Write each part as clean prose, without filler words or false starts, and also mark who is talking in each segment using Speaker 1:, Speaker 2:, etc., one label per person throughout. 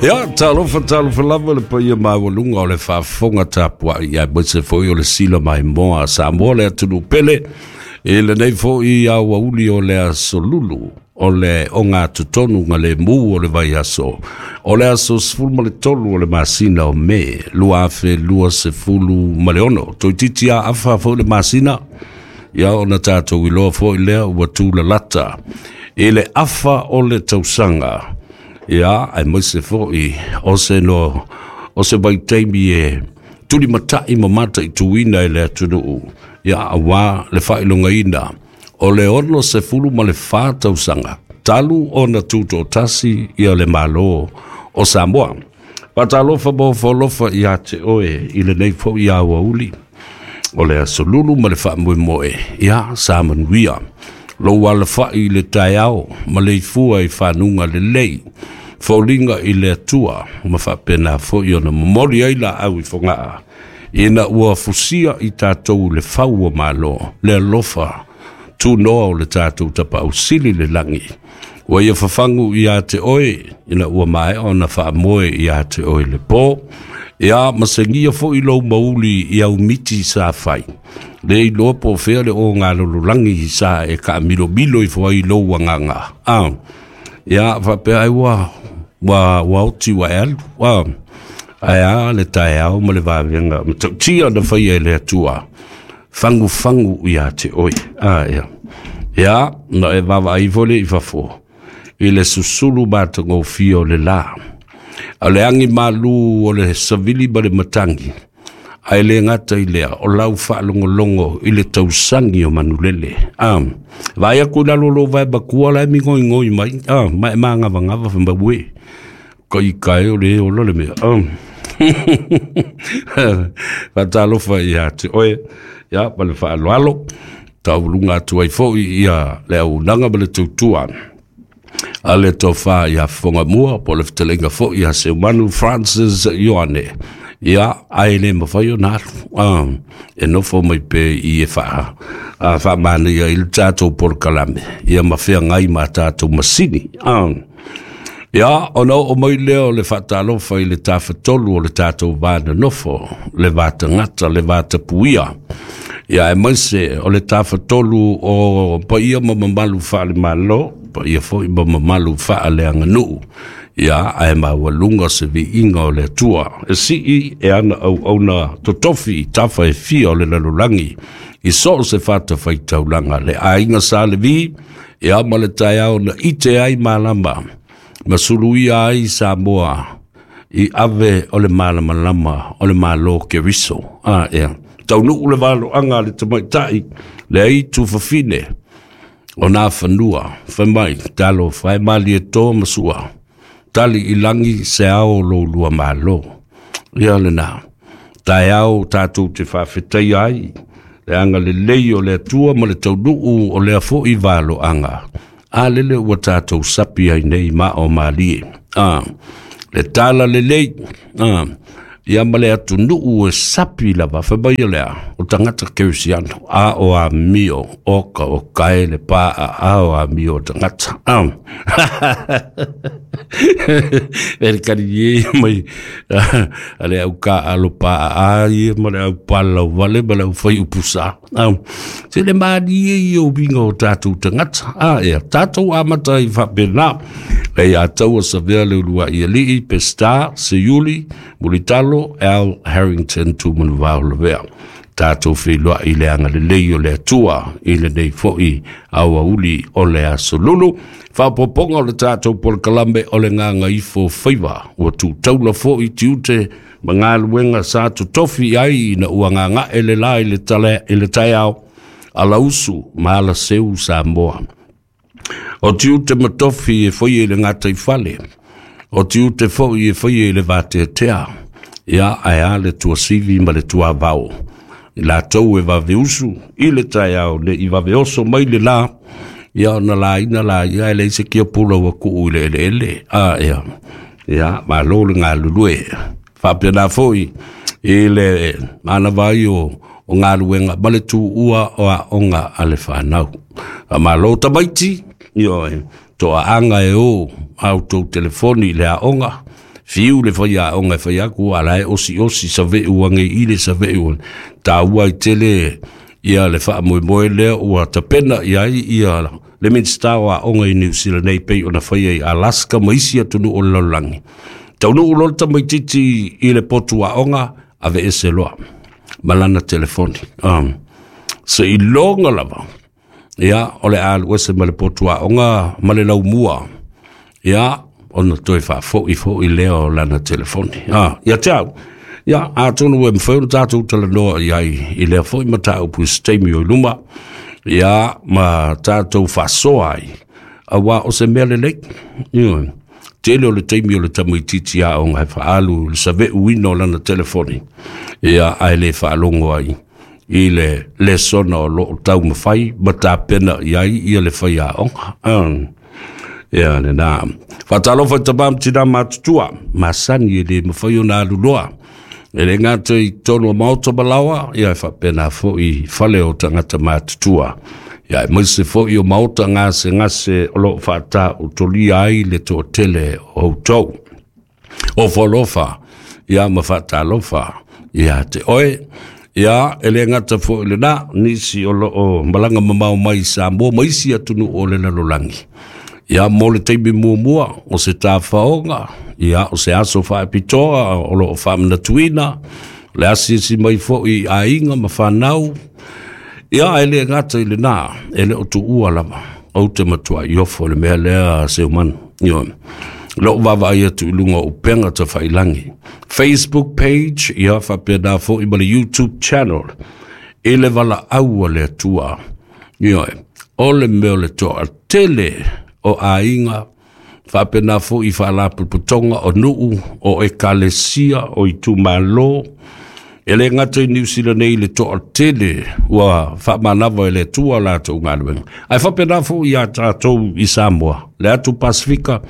Speaker 1: Ia, talofa, talofa lava le paia maualuga o le faafofoga tapuai, aemaise foi o le sila maimoa a Samoa le atunuu pele, i lenei foi aoauli o le aso Lulu o le ogatotonu galemu o le vaiaso, o le aso 13 o le masina o Me 2026. Toeitiiti a afa foi le masina, ia ona tatou iloa foi lea ua tulalata i le afa o le tausaga, ia aemaise foi o se no o se vaitaimi e tulimatai ma mataituina e le atunuu, ia aua le faailogaina o le 64 tausaga talu ona tutoatasi ia le Malo o Samoa. Faatalofa ma ofo ia te oe i lenei foi aoauli o le aso Lulu ma le faamoemoe, ia sa manuia lou alafai i le taeao ma le ifua i fanuga lelei, foliga i le Atua ma faapena foi ona momoli ai laau i Fogaa, ina ua fusia i tatou le fau o malo, le alofa tunoa o le tatou Tapaau Sili le lagi. Ua ia fafagu ia te oe, ina ua maea ona faamoe ia te oe le po, ia masegia foi lou mauli i au miti sa fai. Le iloa po o fea le o galololagi sa e kaamilomilo ifo ai lou agaga. Ia faapea ai ua ua ua oti ua e alu. Ae a le taeao ma le vavega matautia na faia e le Atua, fagufagu ia te oe. Ia. Ia, na e vaavaai ifo le i fafo i le susulu matagofie o le la. O le agi malu o le savili ma le matagi, ae le gata i lea, o lau faalogologo i le tausagi o manulele. Vaai aku i lalo o lou vae matua la e migoigoi mai, ma e magavagava fai mai, ue, ka i kae o le ola le mea. Faatalofa ia te oe, ia, ma le faaaloalo, taualuga atu ai foi ia le auaunaga ma le tautua a le tofa ia Fogamua, po o le fetalaiga foi ia Seumanu Francis Ioane. Ia, ae le mafai ona alu, e nofo mai pe i e faamanaia i le tatou polokalame, ia ma feagai ma tatou masini. Ia, ona oo mai lea o le faatalofa i le tafatolu o le tatou va nonofo, le va tagata, le va tapuia. Ia, aemaise o le tafatolu o paia ma mamalu faale-Malo, paia foi ma mamalu faaleaganuu. Ia, ae maualuga se viiga o le Atua e sii e ana auauna totofi i tafa e fia o le lalolagi, i so o se fatafaitaulaga, le aiga Sa Levi, ia ma le taeao na ite ai malama, ma suluia ai Samoa i ave o le malamalama o le Malo Keriso. Ia. Taunuu le valoaga a le tamaitai, le aitu fafine o nā fanua, fai mai, talofa e Malietoa ma Sua, tali i lagi se ao o lo lua malo. Ia lena, taeao tatou te faafetaia ai le agalelei o le Atua ma le taunuu o lea foi valoaga. A lele ua tatou sapi ai nei ma o malie. Le tala lelei, ia ma le atunuu e sapi lava, fai mai o lea, o tagata kerisiano, a o amio, o ka o kae le pa a o amio o tagata. E le kari e mai, a le au ka alo pa a ia ma le au pala vale ma le au fai upusa. Se le malie i o winga o tātou tagata. Ia, tātou amata i faapena. Le ia taua savea le ulua i alii, Pesta, Seiuli, Mulitalo, Al Harrington, Tumanuvao Lavea. Tātou feiloai i le agalelei o le Atua i lenei foi aoauli o le aso Lulu. Faaopoopoga o le tatou polokalame o le Gagaifo Faiva. Ua tūtaula foi tiute ma galuega sa totofi ai ina ua gagae le la i le, tale, i le taeao alausu ma alaseu Samoa. O tiute ma tofi e faia i le gataifale, o tiute foi e faia i le vateatea, ia ae a le tuasivi ma le tuavao. I latou e vaveusu i le taeao ne i vaveoso mai le la, ia ona laina la ia e leai se kiapula ua tuu i le eleele. Ia, ia, malo le galulue. Faapena foi i le manava ai o galuega ma le tuua o aoga a le fanau. Malo tamaiti, ioe, toaaga e o au tou telefoni i le aoga, Fiu le faiaoga e fai atu a la e osi'osi save'u age i le save'u taua ai tele ia le faamoemoe lea ua tapena i ai ia le Minisita o Aoga i Niu Sila nei pei ona faia i Alaska ma isi atunuu o le lalolagi. Taunuu loa le tamaitiiti i le potu aoga, aveese loa ma lana telefoni. Seiloga lava ia o le a alu ese ma le potu aoga ma le laumua, ia ona toe faafo'i fo'i lea o lana telefoni. Ia te au, ia atonu e mafai ona tatou talanoa i ai i lea foi mataupu i se taimi o i luma, ia ma tatou faasoa ai, auā o se mea lelei. Ioe, tele o le taimi o le tamaitiiti aoga e faaalu i le save'uina o lana telefoni, ia ae le faalogo ai i le lesona o loo taumafai ma tapena i ai ia le faiaoga. Ia lena. Faatalofa i tamā ma tinā matutua, masani e le mafai ona aluloa. E le gata i totonu o maota ma laoa, ia e faapena foi i fale o tagata matutua. Ia aemaise foi o maota gasegase o loo faataotolia ai le toatele o outou. Ofo alofa, ia ma faatalofa ia te oe. Ia, e le gata foi lena, nisi o loo malaga mamao mai i Samoa ma isi atunuu o le lalolagi. Ia, mo le taimi muamua o se tafaoga, ia, o se aso faapitoa o loo faamanatuina, le asiasi mai foi i aiga ma fanau. Ia, e le gata i lena, e le o tuua lava. Ou te matuai ofo i le mea lea, Seumanu. Ioe. Lou vaavaai atu i luga o upega tafailangi. Facebook page, ia faapena foi ma le YouTube channel, i le valaau a le Atua. Ioe. O le mea o le toatele o aiga, faapena foi i faalapotopotoga o nuu, o ekalesia, o itumalo, e le gata i Niu Sila nei le toatele ua faamanava e le Atua latou galuega, ae faapena foi iā tatou i Samoa, le atu Pasifika,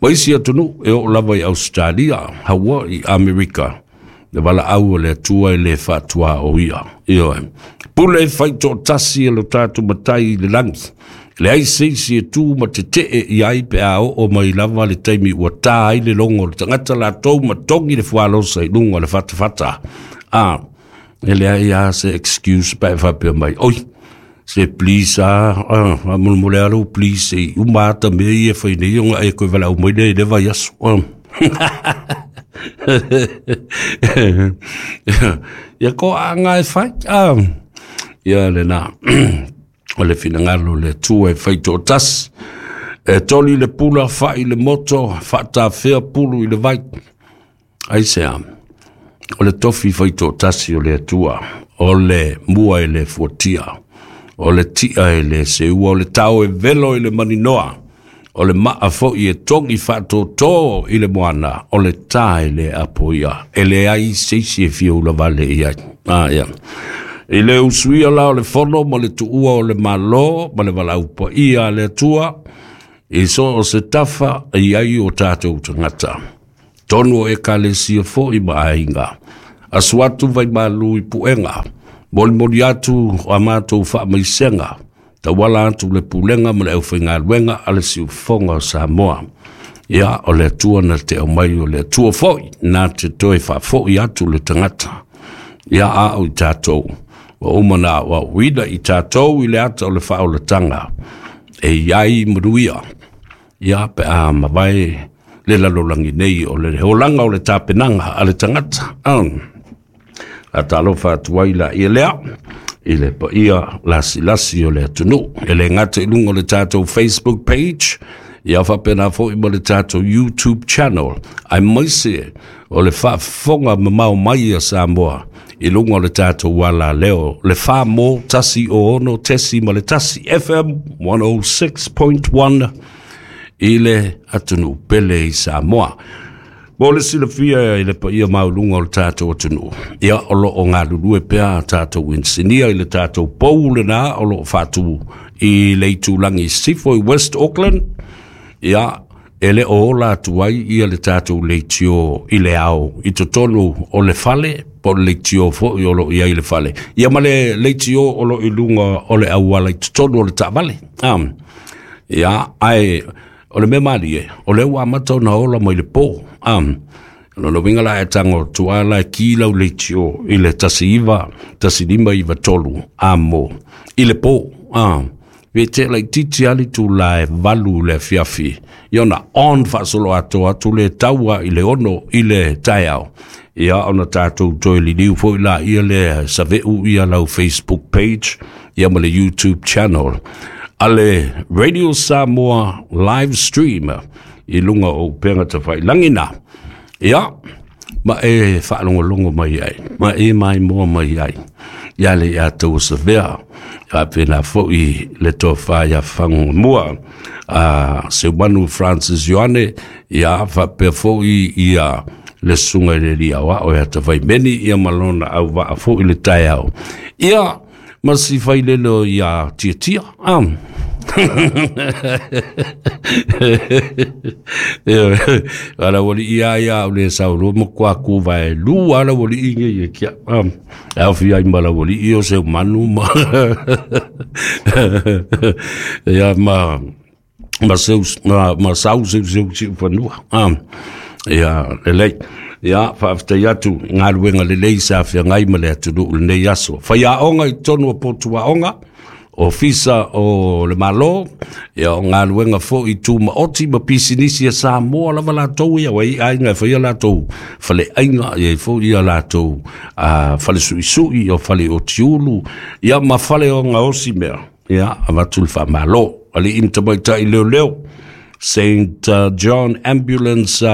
Speaker 1: ma isi atunuu e oo lava i Ausetalia, Hawaii, Amerika, le valaau a le Atua e le faatuaoia. Ioe. Pule faitoatasi e lo tatou Matai i le lagi, leai se isi e tu ma tetee i ai pe a oo mai lava le taimi ua tā ai le logo o le tagata latou ma togi le fualosa i luga o le fatafata. A, e leai lava se excuse pe a e faapea mai, oi, se please a, faamolemole lava lou please se i uma ata mea ia e fai nei ona e toe valaau mai lea i le vaiaso. Ia toaaga e fai, ia lena. O le finagalo o le Atua e faitoatasi, e toli le pula, fai le moto, faatafea pulu i le vai. Aisea? O le tofi faitoatasi o le Atua, o le mua e le fuatia, o le tia e le seua, o le tao e velo i le maninoa, o le maa foi e togi faatōtō i le moana, o le tā e le apoia, e leai se isi e fia ulavale i ai. Ia. I le usuia la o le fono ma le tuua o le Malo ma le valaau paia a le Atua, i so o se tafa e i ai o tatou tagata. Tonu o ekalesia foi ma aiga. Asu atu vaimalu i puega, molimoli atu a matou faamaisega, tauala atu le pulega ma le aufaigaluega a le Siufofoga o Samoa. Ia, o le Atua na te aumai, o le Atua foi na te toe faafoi atu le tagata. Ia, a o i tatou, ua uma na aoaoina i tatou i le ata o le faaolataga, e i ai manuia. Ia, pe a mavae le lalolagi nei o le olaga o le tapenaga a le tagata. A talofa atu ai la ia lea i le paia lasilasi o le atunuu. E le gata i luga o le tatou Facebook page, ia faapena foi ma le tatou YouTube channel, aemaise o le faafofoga mamao mai a Samoa i luga o le tatou alaleo, le 4 mo 106.1 FM 106.1 i le atunuu pele i Samoa. Mo le silafia i le paia maualuga o le tatou atunuu, ia o loo galulue pea tatou inisinia i le tatou pou lena o loo faatu i le itulagi i Sisifo i West Auckland. Ia, e le o ola atu ai ia le tatou leitio i le ao i totonu o le fale, po o le leitio foi o loo i ai i le fale, ia ma le leitio o loo i luga o le auala i totonu o le taavale. Ia, ae O le mea malie, o lea ua amata ona ola mai le pō. O lona uiga la e tago atu lava la e ki lau leitio i le 19 15 93 amo i le pō. Pe te laitiiti lava le itulā e 8 i le afiafi, ia ona on faasolo atoa atu le taua i le 6 i le taeao. Ia ona tatou toe liliu foi laia lea save'u ia lau Facebook page ia ma le YouTube channel a le Radio Samoa live stream i luga o upega tafailagi na. Ia ma e faalogologo mai ai ma e maimoa mai ai ia le ia tau savea faapena foi le tofa ia Fagogamua a Seumanu Francis Ioane, ia faapea foi ia le susuga i le alii aoao ia Tavaimeni ia ma lona auvaa foi le taeao ia ma si failele ia Tiatia. Ala wali ia ia o le saulo mo kwa ku vai lu ala wali inge ia kia. Au fi ai mala wali i o se manu ma ia ma ma seu ma, ma sau seu seu si fanua. Ia lelei. Ia faafetai atu i galuega lelei sa feagai ma le atunuu lenei aso. Faiaoga i totonu o potuaoga, ofisa o le Malo, ia o galuega foi tumaoti ma pisinisi a Samoa lava latou ia ua i aiga e faia latou faleaiga ia foi ia latou fale suisui o fale o tiulu ia ma fale o gaosi mea. Ia avatu le faamalo alii ma tamaitai leoleo, St John Ambulance,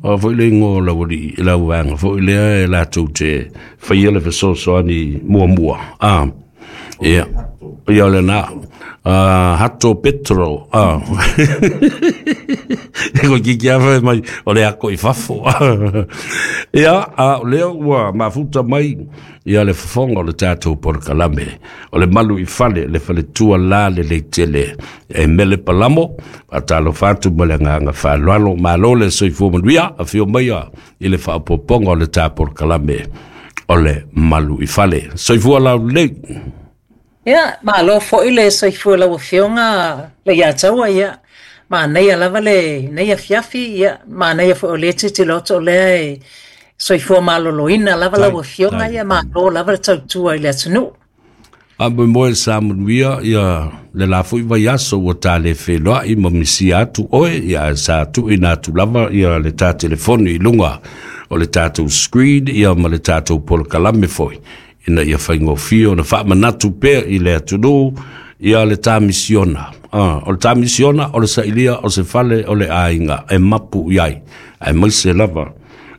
Speaker 1: o foi le igoa o lau alii lau vaega foi lea e latou te faia le fesoasoani muamua. Ia ia o lena Hato Petro e koe kiki afa mai o le ako i fafo. Ia a o lea ua mafuta mai ia le fofoga o le tatou polokalame o le Malu i Fale, le faletua la lelei tele e Mele Palamo. Faatalofa atu ma le agaga faaaloalo, malo le soifua manuia, afio maia i le faaopoopoga o le ta polokalame o le Malu i Fale. Soifua laulelei.
Speaker 2: Ia, malo foi le soifua lau Afioga le Iataua, ia. Manaia lava le nei afiafi, ia, manaia foi o le tilotilo atu o lea e soifua maloloina lava lau Afioga, ia, malo lava le tautua i le atunuu.
Speaker 1: Faamoemoe sa manuia ia le la foi vaiaso ua ta le feloai ma misia atu oe, ia sa tuuina atu lava ia le ta telefoni i luga o le tatou screen ia ma le tatou polokalame foi ina ia faigofie ona faamanatu pea i le atunuu ia le ta misiona. O le ta misiona o le sailia o se fale o le aiga e mapu i ai, aemaise lava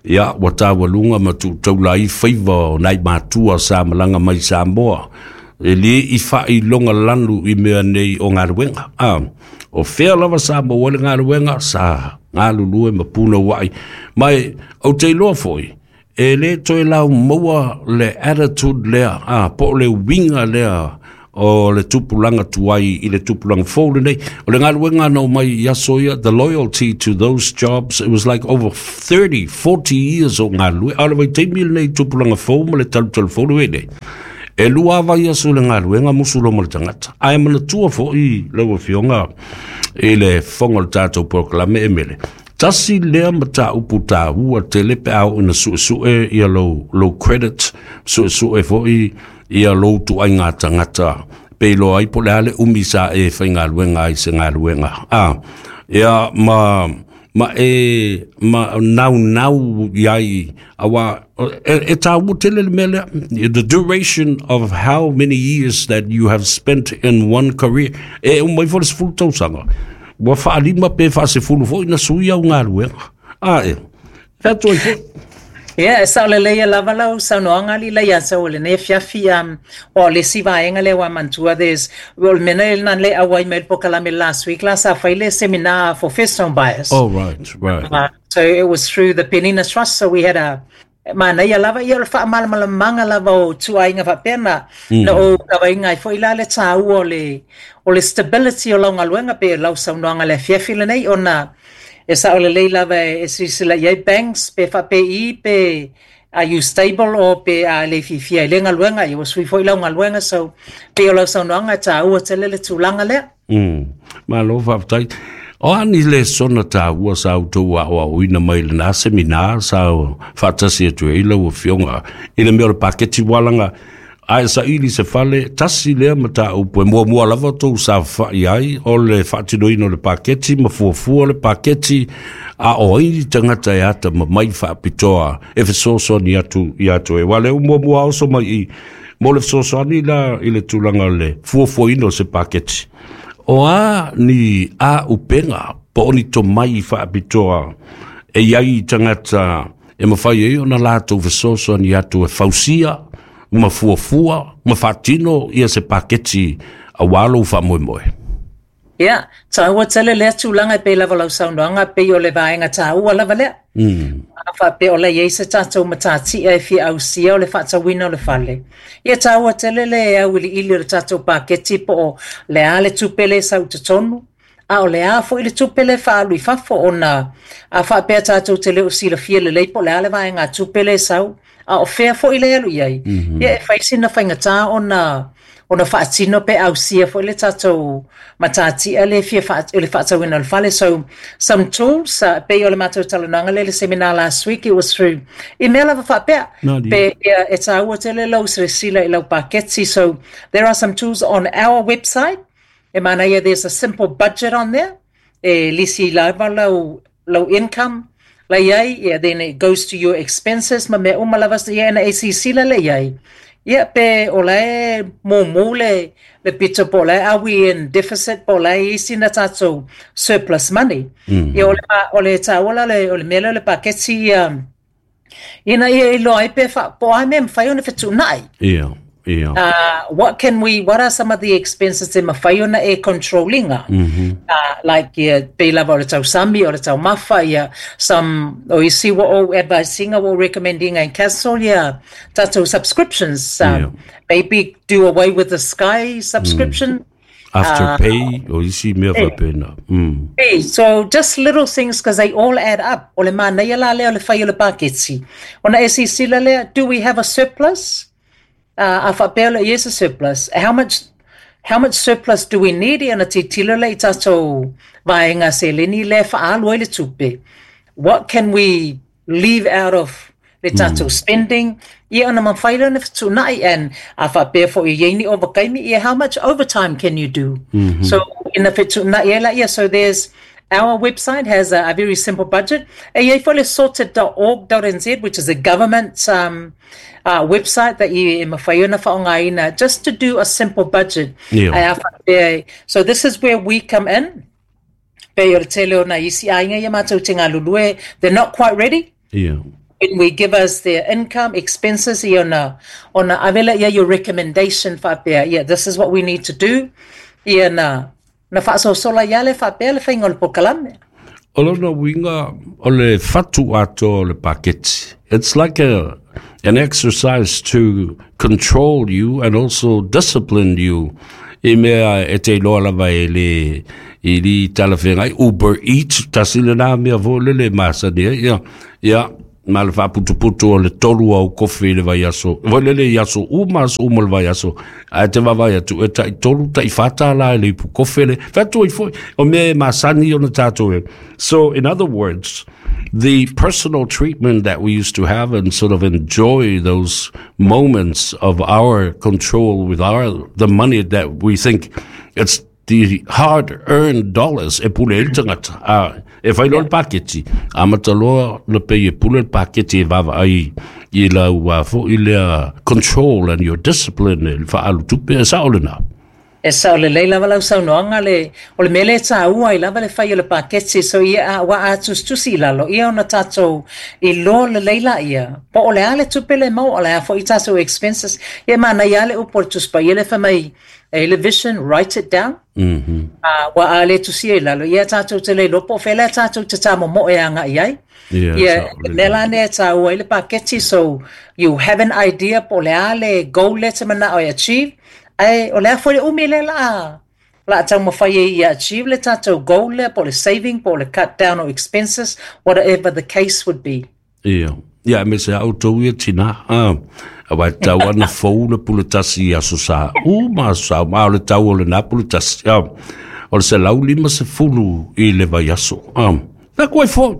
Speaker 1: ia ua taualuga ma tuutaula ai faiva o nai matua sa malaga mai Samoa e lē i faailoga lanu i mea nei o galuega. O fea lava sa maua le galuega sa galulue ma punouai mai. Ou te iloa foi e lē toe laumaua le attitude lea po o le uiga lea o le tupulaga tuai i le tupulaga fou lenei. O le galuega na omai i aso ia, the loyalty to those jobs, it was like over 30, 40 years o galulue. A o le vaitaimi lenei, tupulaga fou ma le talutalu fou le nei. E lua vaiaso le galuega musu lo ma le tagata. Ae manatua foi lau Afioga i le fofoga o le tatou polokalame e Mele. Tasi lea mataupu taua tele pe a oo ina suesue ia lou credit, suesue foi ia lou tuaiga tagata pe iloa ai po o le a le umi sa e faigaluega ai se galuega. Ia ma e ma naunau iai aua e tāua tele le mea lea, the duration of how many years that you have spent in one career. E umai foi le 10 tausaga ua faalima pe faasefulu foi na sui au galuega a e featu ai foi.
Speaker 2: Ia, e sao lelei lava lau saunoaga ali la ia sau le nei afiafi o le isi vaega lea ua manatua, there's o le mea na le auai mai le polokalame last week la sa fai le seminar for first home buyers.
Speaker 1: Oh, right.
Speaker 2: So it was through the Penina Trust, so we had a manaia lava ia o le faamalamalamaga lava o tuaiga faapea na ou tavaiga ai foi la le tāua o le stability o lau galuega pe lau saunoaga le afiafi lenei ona e sao lelei lava e silasila i ai banks pe faapei pe are you stable o pe a le fiafia i le galuega ia ua sui foi lau galuega. So pei o lau saunoaga e tāua tele le tulaga lea.
Speaker 1: Malo faafetai. O a ni lesona taua sa outou aoaoina mai lena semina sa faatasi atu ai lau Afioga i le mea o le paketi ualaga a e saili se fale tasi lea mataupu e muamua lava outou saofafai ai o le faatinoina o le paketi ma fuafua le paketi a o ai ni tagata e atamamai faapitoa e fesoasoani atu ia te oe. Aua o lea ua muamua oso mai i mo le fesoasoani la i le tulaga o le fuafuaina o se paketi. O a ni aupega po o ni tomai faapitoa e i ai i tagata e mafai ai ona latou fesoasoani atu e fausia ma fuafua ma faatino ia se paketi aua lou faamoemoe?
Speaker 2: Ia, taua tele lea tulaga e pei lava o lau saunoaga, pei o le vaega taua lava lea. A faapea o la e i ai se tatou matatia e fia ausia o le faatauina o le fale, ia taua tele le auiliili o le tatou paketi po o le a le tupe lea e sau i totonu, a o le a foi le tupe lea e faaalu i fafo ona a faapea tatou te le o silafia lelei po o le a le vaegatupe lea e sau, a o fea foi lea e alu i ai, ia e fai sina faigata ona ona faatino pe ausia foi le tatou matatia lea e fia faa, le faatauina o le fale. So, some tools, pei o le matou talanoaga lea i le seminar last week, it was through, i mea lava faapea, pe ia, e taua tele lau silasila i lau paketi. So, there are some tools on our website, e manaia, there's a simple budget on there, e lisi lava lau, lau income la i ai, yeah, then it goes to your expenses ma mea uma lava, ia ina e silasila lea i ai, ia pe o la e mumu le, le pito po o la e are we in deficit po o la e i ai sina tatou surplus money. Ia o le, o le taua la o le mea lea o le paketi ia, Ina ia iloa ai pe wha, po o a mea e mawhai ona fetuunai.
Speaker 1: Ia, ia.
Speaker 2: What can we, what are some of the expenses e mawhai ona e controllinga? Like, ia, pei lava o le tausami, o le taumafa, ia, some, o isi ua ou advisinga, ua ou recommendinga e cancel ia tatou subscriptions. Maybe do away with the Sky subscription.
Speaker 1: Afterpay, o isi mea faapena.
Speaker 2: Hey, so just little things because they all add up. O le manaia la lea o le fai o le paketi. Ona e silasila lea, do we have a surplus? A faapea o le i ai se surplus. How much surplus do we need? Ia ona tilotilo lea i tatou vaega seleni lea e faaalu ai le tupe. What can we leave out of le tatou spending, ia ona mafai lea ona fetuunai and a faapea foi e i ai ni ovakaimi, ia how much overtime can you do? So ina fetuunai ai laia, so there's our website has a very simple budget. E i ai foi le sorted.org.nz which is a government website that you e mafai ona faaaogaina just to do a simple budget. Ae a faapea, so this is where we come in. Pei o le tele o nai isi aiga ia matou te galulue, they're not quite ready. When we give us their income, expenses, ia ona, ona ave lea ia your recommendation faapea, yeah, this is what we need to do. Ia na, na faasoasola ia le faapea le faiga o le polokalame.
Speaker 1: O lona uiga, o le fatu atoa o le paketi. It's like a, an exercise to control you and also discipline you i mea e te iloa lava e le i li talafeagai Uber Eats tasi lena mea foi lele e masani ai ia ia ma le faaputuputu o le tolu au kofi i le vaiaso foi lele i aso uma aso uma o le vaiaso ae te vaavaai atu e tai tolu tai whā tālā i le ipu kofe le whatu ai foi o mea e masani ona tātou e. So in other words, the personal treatment that we used to have and sort of enjoy those moments of our control with our the money that we think it's the hard earned dollars e pule ai le tagata a e whai loa le paketi amata loa na pei e pule le paketi e vaavaai i lau foi lea control and your discipline e le faaalu tupe e sao lena.
Speaker 2: E sao lelei lava lau saunoaga le, o le mea lea e taua ai lava le fai o le paketi so ia a, aua a tusitusi i lalo ia ona tatou iloa lelei laia po o le a le tupe lea e maua o le a foi tatou expenses. Ia e manaia lava le upu a le Tusi Paia lea fai mai e i le vision write it down. Aua a le tusia i lalo ia tatou te le iloa po o fea lea tatou te tamomoe agai i ai. Ia, le mea la lea e taua ai le paketi so you have an idea po o le a le goal lea e te manao e achieve Ae o le a foi le umi lea la la taumafai ai ia achieve le tatou goal lea po o le saving po o le cut down o expenses whatever the case would be.
Speaker 1: Ia, ia aemaise a outou ia tina, a, aua e tatau lava ona fou le pule tasi i aso sa uma, aso sa uma, a o le tau o lena pule tasi, a. o le 150 i le vaiaso. Fai atu ai foi.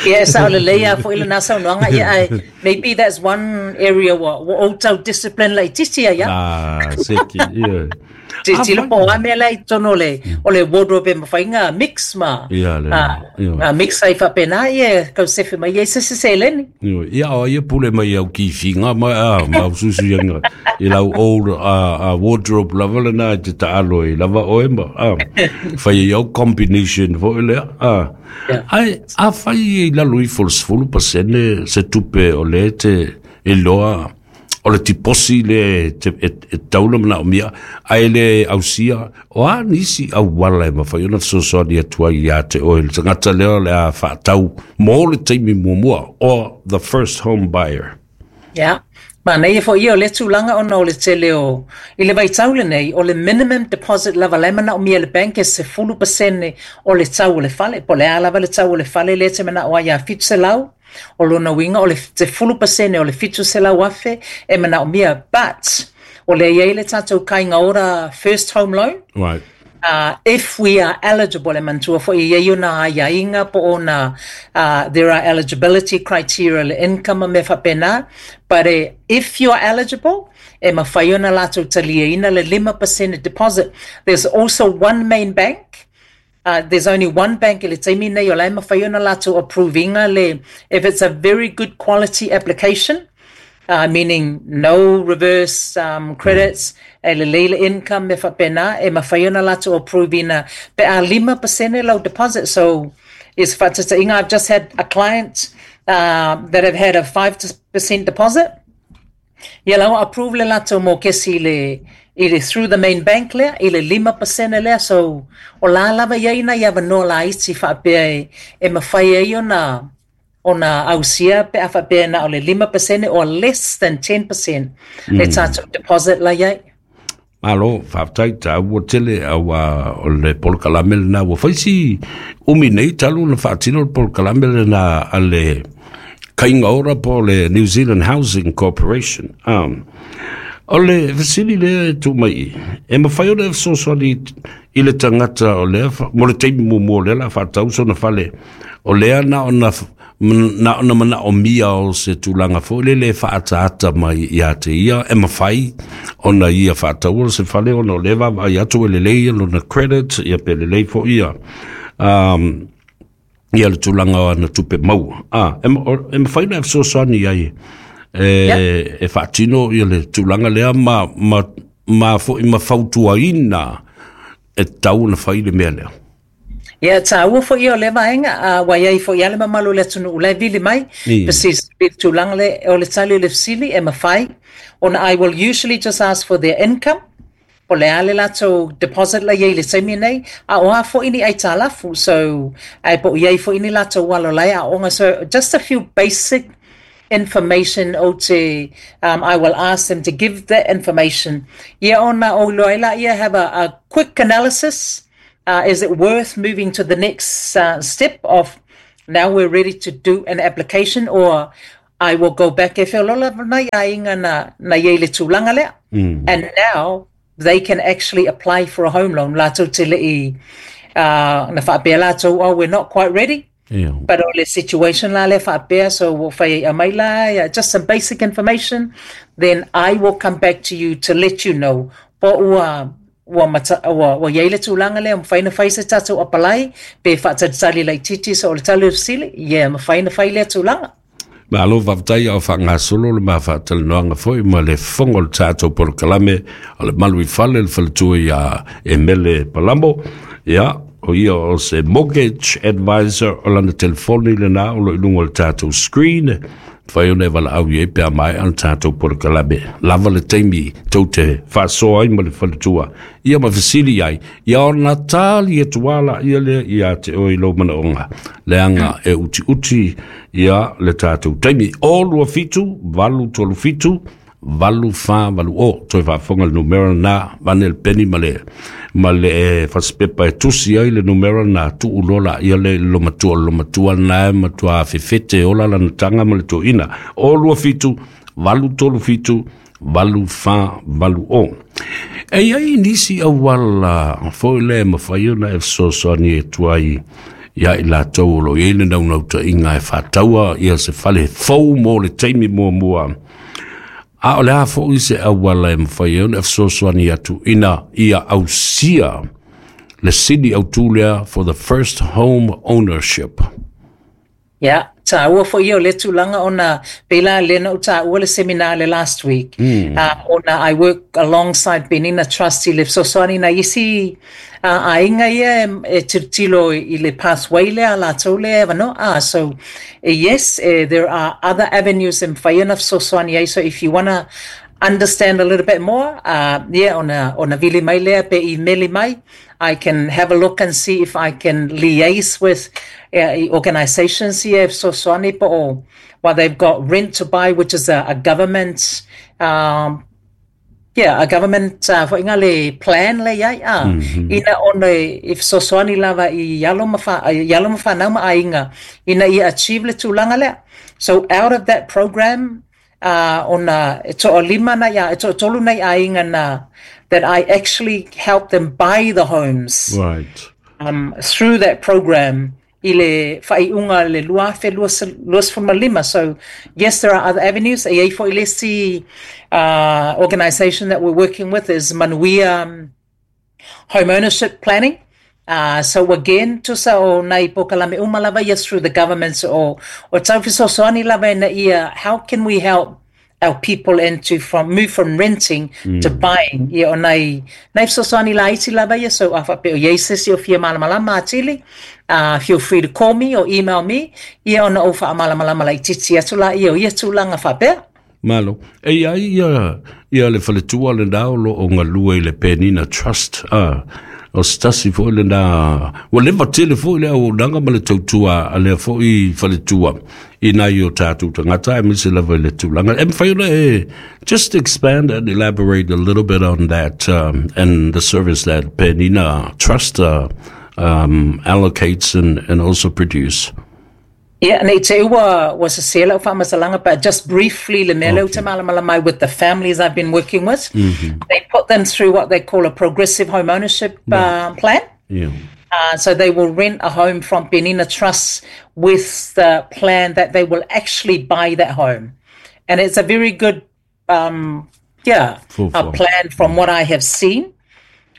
Speaker 2: Ia, e sao lelei lava foi lena saunoaga, ia ae maybe that's one area ua ou tau discipline laitiiti ai lava.
Speaker 1: Ah, seki, ia.
Speaker 2: Tilotilo po o a mea la i totonu o le wardrobe e mafai ona mix ma
Speaker 1: Ia, le, ia.
Speaker 2: Mix ai faapena, ia e tau sefe mai ai se isi seleni.
Speaker 1: Ia, ia, o ia pule mai au kifiga ma ma au suisuiaga i lau old wardrobe lava lena e te taalo ai lava oe ma fai ai au combination foi lea. Ae afai i lalo ifo o le 10% se tupe o lea e te iloa o le tiposi lea e tatau ona manaomia ae le ausia, o a nisi auala e mafai ona fesoasoani atu ai ia te oe le tagata lea o le a faatau mo le taimi muamua, or the first home buyer?
Speaker 2: Ia, manaia foi ia o lea tulaga ona o le tele o, i le vaitau lenei, o le minimum deposit lava la e manaomia e le bank e 10% o le tau o le fale, po o le a lava le tau o le fale lea e te manao ai ia 700, o lona uiga o le 10% o le 700,000 e manaomia, but o lea e i ai le tatou Kāinga Ora first home loan. If we are eligible, e manatua foi e i ai ona aiaiga po o ona, there are eligibility criteria le income ma mea faapena, but if you are eligible, e mafai ona latou taliaina le 5% deposit. There's also one main bank, there's only one bank i le taimi nei o la e mafai ona latou approve ina le, if it's a very good quality application, meaning no reverse credits, e lelei le income mea faapena, e mafai ona latou approve ina pe a 5% lau deposit. So, ia se faataitaiga, I've just had a client that have had a 5% deposit. Ia la ua approve le latou mokesi i le through the main bank lea, i le 5% lea. So, o la lava i ai nai avanoa laiti faapea e mafai ai ona ausia pe a faapea na o le 5% or less than 10% le tatou deposit la i ai.
Speaker 1: Malo, faafetai, taua tele auā o le polokalame lena ua fai si umi nei talu ona faatino le polokalame lena a le Kāinga Ora po o le New Zealand Housing Corporation. O le fesili lea e tuu mai i, e mafai ona e fesoasoani i le tagata o lea, mo le taimi muamua o lea o le a faatau sona fale, o lea na ona na ona manaomia o se tulaga foi lele e faaataata mai ia te ia e mafai ona ia faataua se fale ona o lea e vaavaai atu e lelei lona credit ia pe lelei foi ia ia le tulaga o ana tupe maua. E mafai ona e fesoasoani ai e faatino ia le tulaga lea ma foi ma fautuaina e tatau ona fai le mea lea.
Speaker 2: Ia, taua foi ia o lea vaega, ua i ai foi lava le mamalu o le atunuu la e vili mai, fesili i le tulaga lea, o le tali o le fesili e mafai ona I will usually just ask for their income, po o le a le latou deposit la i ai i le taimi nei, a o a foi ni aitalafu, so, ae po o i ai foi ni latou alo la e aooga, so just a few basic information ou te, I will ask them to give that information, ia ona ou iloa ai lea, have a quick analysis. Is it worth moving to the next step of now we're ready to do an application or I will go back e feoloolo nai aiga na i ai le tulaga lea and now they can actually apply for a home loan latou te le i na faapea latou oh we're not quite ready but o le situation la lea faapea so ua fai ai aumai la just some basic information then I will come back to you to let you know po ua Ua mata, ua, ua i ai le tulaga lea, mafai ona fai se tatou apalai, pe faatalitali laitiiti so o le tali o le fesili, yeah, mafai ona fai lea tulaga.
Speaker 1: Malo faafetai a o faagasolo le ma faatalanoaga foi ma le fofoga o le tatou polokalame o le Malu i Fale le faletua ia Emele Palamo. Ia, o ia o se mortgage advisor o lana telefoni lena o lo o i luga o le tatou screen. Mafai ona e valaau i ai pe a maea le tatou polokalame. Lava le taimi tou te faasoa ai ma le faletua ia ma fesili ai, ia ona tali atu lava laia lea ia te oe i lou manaoga, leaga e utiuti ia le tatou taimi. O 27 837 8480. Toe faafofoga le numera lena, vane le peni ma le fasipepa e tusi ai le numera lena, tuu loa laia lea i le lomatua, o le lomatua lena e matua fefete ola lana taga ma le toeaina. O 27 837. 8 4 8 0. E iai nisi auala foi lea e mafai ona e fesoasoani atu ai ia i latou o lo o i ai le naunautaiga e faataua ia se fale fou mo le taimi muamua. A o le a foi se auala e mafai ai ona e fesoasoani atu ina ia ausia le sini autu lea for the first home ownership?
Speaker 2: Ia, tāua foi ia o le tulaga ona pei la lea na ou tāua le seminar le last week. Ona I work alongside Penina Trust i le fesoasoani nai isi aiga ia e tilotilo i le pathway lea a latou lea e avanoa. So yes, there are other avenues e mafai ona fesoasoani ai. So if you wanna understand a little bit more, yeah, ona vili mai lea pe email mai. I can have a look and see if I can liaise with organisations here, fesoasoani po o, well, they've got rent to buy, which is a government yeah, a government foi nga le plan le iai ina ona e fesoasoani lava i alo ma i alo ma whanau ma aiga ina ia achieve le tulaga lea. So out of that program, ona e to'alima nai a e to'atolu nai aiga na that I actually help them buy the homes through that program i le faaiuga le 2025. So yes, there are other avenues. E iai foi le isi organisation that we're working with is Manuia Home Ownership Planning. So again, tusa o nai polokalame uma lava ia through the government o tau fesoasoani lava ina ia how can we help our people into from move from renting to buying. Ia o nai fesoasoani laiti lava ia. So a faapea o iai se isi o fia malamalama atili, feel free to call me or email me, ia ona ou faamalamalama laitiiti atu laia o ia tulaga faapea.
Speaker 1: Malo. E iai ia le faletua lena o lo o galue i le Penina Trust. O se tasi foi lena, ua leva tele foi le auaunaga ma le tautua a lea foi faletua i nai o tatou tagata aemaise lava i le tulaga. E mafai ona e just expand and elaborate a little bit on that and the service that Penina Trust allocates and also produce.
Speaker 2: Yeah, nei te ua sese lau faamatalaga, but just briefly, le mea lea ou te malamalama ai with the families I've been working with, they put them through what they call a progressive home ownership plan. So they will rent a home from Penina Trust with the plan that they will actually buy that home. And it's a very good yeah,
Speaker 1: Full
Speaker 2: a
Speaker 1: form.
Speaker 2: plan from what I have seen.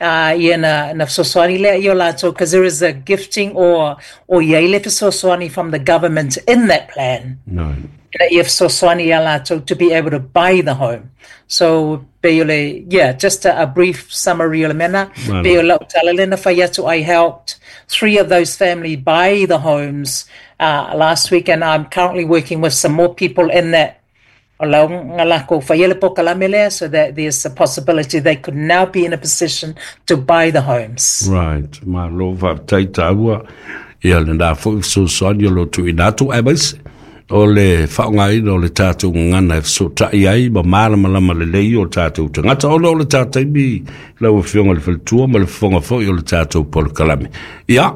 Speaker 2: Ia na fesoasoani lea i o latou, because there is a gifting or iai le fesoasoani from the government in that plan.
Speaker 1: No.
Speaker 2: Ina ia fesoasoani ia latou to be able to buy the home. So pe o le, yeah, just a brief summary o le mea.
Speaker 1: Malo.
Speaker 2: Pe o lau tala lea na fai atu, I helped three of those family buy the homes last week, and I'm currently working with some more people in that o lau nga lako whai ele polokalame lea, so that there's a possibility they could now be in a position to buy the homes.
Speaker 1: Right. Malo faafetai tāua. Ia lena foi fesoasoani o lo tuuina atu aemaise o le faaaogaina o le tatou gagana e fesootai ai ma malamalama lelei o tatou tagata ona o le taimi lau afioga le faletua ma le fofoga foi o le tatou polokalame. Ia,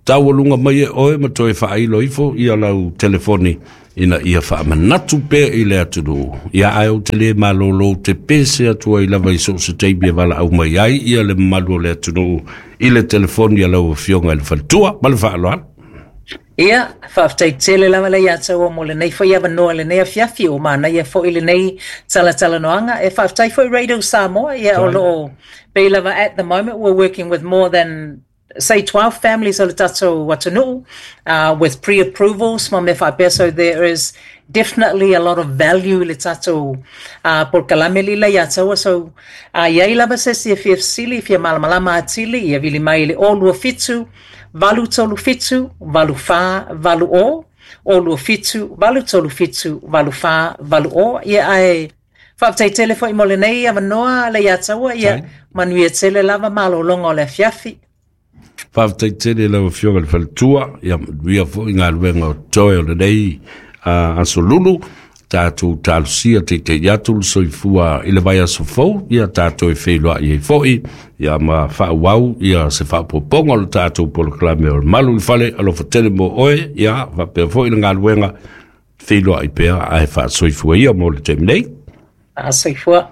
Speaker 1: taualuga mai e oe ma toe faailo ifo ia lau telefoni ina ia faamanatu pea i le atunuu. Ia ae ou te le malolo te pese atu ai lava i so o se taimi e valaau mai ai ia le mamalu o le atunuu i le telefoni a lau afioga i le faletua ma le faaaloalo.
Speaker 2: Ia, faafetai tele lava le ia taua mo lenei foi avanoa lenei afiafi o manaia foi lenei talatalanoaga. E faafetai foi Radio Samoa, ia o loo pei lava at the moment we're working with more than say 12 families o le tatou atunuu with pre-approvals ma mea faapea. So there is definitely a lot of value i le tatou polokalame lila ia taua. So iai lava se isi e fia fesili, fia malamalama atili, ia vili mai i le 027 837 8480, 027 837 8480. Ia ae faafetai tele foi mo lenei avanoa le ia taua, ia manuia tele lava malologa o le afiafi.
Speaker 1: Faafetai tele lau afioga le faletua, ia manuia foi galuega o toe o lenei aso Lulu. Tatou talosia teitei atu le soifua i le vaiaso fou, ia tatou e feiloai ai foi, ia ma faaauau ia se faaopoopoga o le tatou polokalame o le Malu i le Fale. Alofa tele mo oe, ia faapea foi le galuega feiloai pea ae faasoifua ia mo le taimi nei.
Speaker 2: Soifua.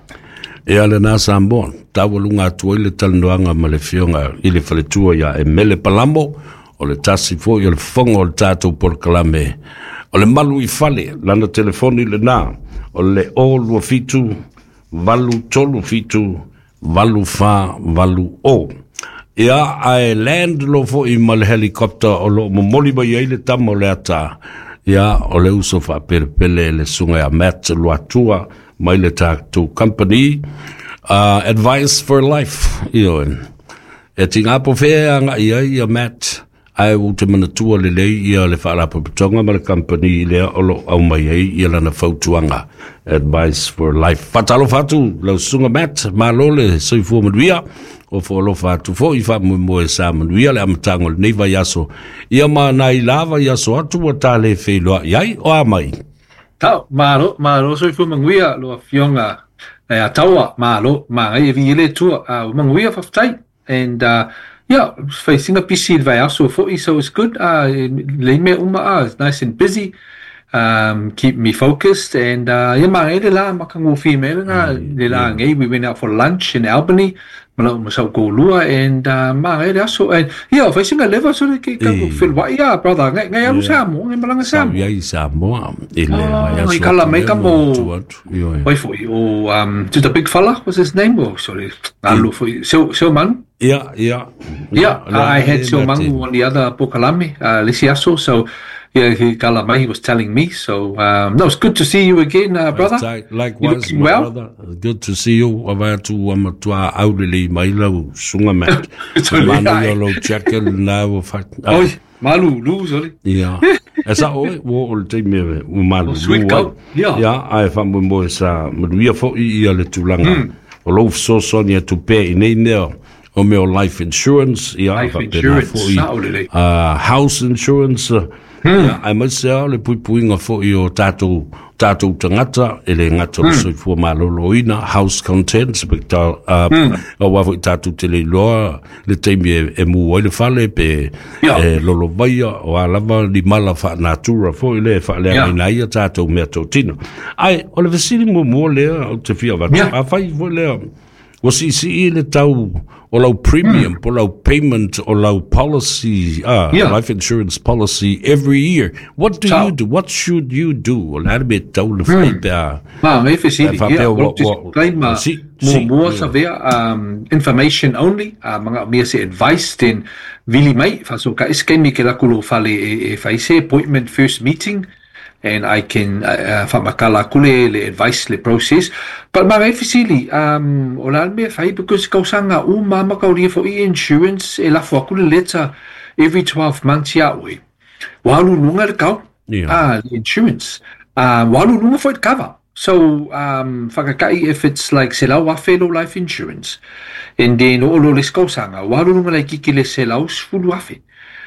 Speaker 1: Ia lena Samoa, taualuga atu ai le talanoaga ma le Afioga i le Faletua ia Emele Palamo, o le tasi foi o le fofoga o le tatou polokalame o le Malu i Fale. Lana telefoni lena o le 027 837 8480. Ia, ae land lo foi ma le helicopter o loo momoli mai ai le tama o le ata. Ia, o le uso faapelepele le susuga ia Matt Luatua mai le tatou company Advice for Life. Ioe. E tiga po fea agai ai ia Matt, ae ua te manatua lelei ia le faalapotopotoga ma le company lea o lo o aumai ai ia lana fautuaga Advice for Life. Faatalofa atu lau susuga Matt, malo le soifua manuia, o foalofa atu foi faamoemoe sa manuia le amataga o lenei vaiaso. Ia ma nai la vaiaso atu ua ta le feiloai ai, o a mai?
Speaker 3: Tau, malo, malo soifua manuia lo afioga e a taua, malo, magai e vi ele tua, uh, manuia faafetai. And yeah, facing a busy le vaiaso foi, so it's good. Le mea uma, it's nice and busy. Keep me focused and yeah, magai le la makangofie me le le la ngai. We went out for lunch in Albany, ma lau ma sau toalua and magai le aso. And yeah, facing a leva so le ke ka felwai ya brother. Ngai ngai alu Samoa, ngai malanga
Speaker 1: Sa
Speaker 3: Samoa.
Speaker 1: Iai Samoa i le
Speaker 3: Oh,
Speaker 1: vaiaso
Speaker 3: i kala
Speaker 1: atu
Speaker 3: mai
Speaker 1: lea
Speaker 3: ka
Speaker 1: na
Speaker 3: mo
Speaker 1: tu atu. Ioe.
Speaker 3: Wai foi o to the big fella, what's his name? Oh, sorry. Alu foi Seu Seu Manu.
Speaker 1: Ia.
Speaker 3: Yeah,
Speaker 1: Le
Speaker 3: I had
Speaker 1: le
Speaker 3: Seu
Speaker 1: Mate.
Speaker 3: Mangu on the other Pokalame, le isi aso. So yeah, he kala mai, he was telling me. So no, it's good to see you again, brother. You
Speaker 1: Likewise,
Speaker 3: looking
Speaker 1: my
Speaker 3: well?
Speaker 1: brother. Good to see you. Ava atu ua matua aulelei mai lau susuga Matt.
Speaker 3: Sorry,
Speaker 1: Manaia
Speaker 3: ai.
Speaker 1: lou jacket lena ua fa...
Speaker 3: Oi, malulu, sorry.
Speaker 1: Ia. E sa oe, ua oo le taimi e ua
Speaker 3: Oh,
Speaker 1: malulu
Speaker 3: sweet
Speaker 1: ai.
Speaker 3: coat. Yeah.
Speaker 1: Ia, ae faamoemoe sa manuia foi ia le tulaga o lou fesoasoani atu pea i nei mea o mea o life insurance, ia,
Speaker 3: Life
Speaker 1: faapena
Speaker 3: insurance,
Speaker 1: foi
Speaker 3: sao lelei.
Speaker 1: House insurance, ia, aemaise lava o le puipuiga foi o tatou tatou tagata e le gata o le soifua malōlōina, house contents, pe ta auā foi tatou te le iloa le taimi e, e mū ai le fale pe e lolovaia o a lava ni mala faanatura foi le e faaleagaina ai ia tatou mea totino. Ae o le fesili muamua lea ou te fia avatu, afai foi lea ua siisii le tau o lau premium po lau payment o lau policy, life insurance policy every year, what do you do? What should you do? O le a le mea e tatau ona fai pe a
Speaker 3: Ma, ngai
Speaker 1: e
Speaker 3: fesili.
Speaker 1: faapea
Speaker 3: Yeah,
Speaker 1: ua
Speaker 3: well,
Speaker 1: ua
Speaker 3: disclaimer,
Speaker 1: si si
Speaker 3: muamua savea, information only, mga mea se advice, then vili mai, faso ka iskemi ke laku lo fale e, e fai se appointment first meeting, and I can whamakala aku le, le advice, le process. But ma ngai fesili, o la le mea fai, because kausanga u mama kauria fo i insurance, e lafo aku le letter every 12 months ia oe. Wa alu lunga le kau, le insurance. Wa alu lunga foi le cover. So, whakakai if it's like se lau afe lo life insurance, and then o lo le skausanga, wa alu lunga le kiki le se lau sfulu afe.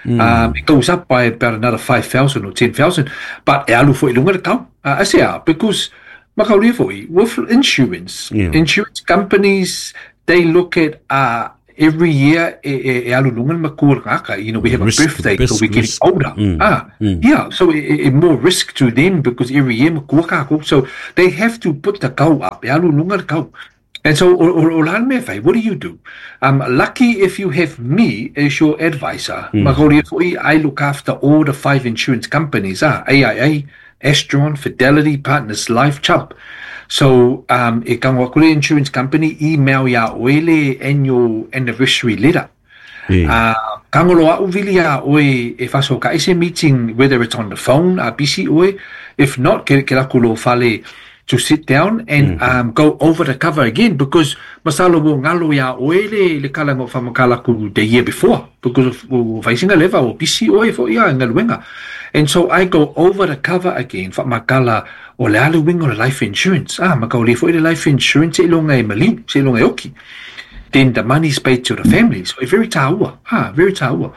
Speaker 3: It goes up by about another 5,000 or 10,000, but e alu foi lunga le kau. Ase because makaulia foi, with insurance, insurance companies, they look at every year e, e, e alu lunga le makua le ngaka. You know, we have a
Speaker 1: Risk,
Speaker 3: birthday, so
Speaker 1: risk,
Speaker 3: we're getting
Speaker 1: risk.
Speaker 3: older. Yeah, so e, e, more risk to them because every year makua kako. So they have to put the kau up. E alu lunga le kau. And so, o, o, o la le mea fai, what do you do? Lucky if you have me as your advisor. Makaulia foi, I look after all the 5 insurance companies, AIA, Astron, Fidelity, Partners Life, Chubb. So, e kango aku le insurance company, email ia oe le annual anniversary letter. Kangolo au vili ia oe e faso ka ese meeting, whether it's on the phone, a busy oe. If not, ke, ke laku lo fale to sit down and go over the cover again, because masalo wo ngalo ia oe le, le kala ngo whamakala ku the year before, because of o whaisinga leva o busy oe fo ia ngaluenga. And so I go over the cover again, whamakala o le alu wingo le life insurance. Makau le fo i le life insurance e longa e maliu, se longa e oki. Then the money's paid to the family. So very taua. Very taua.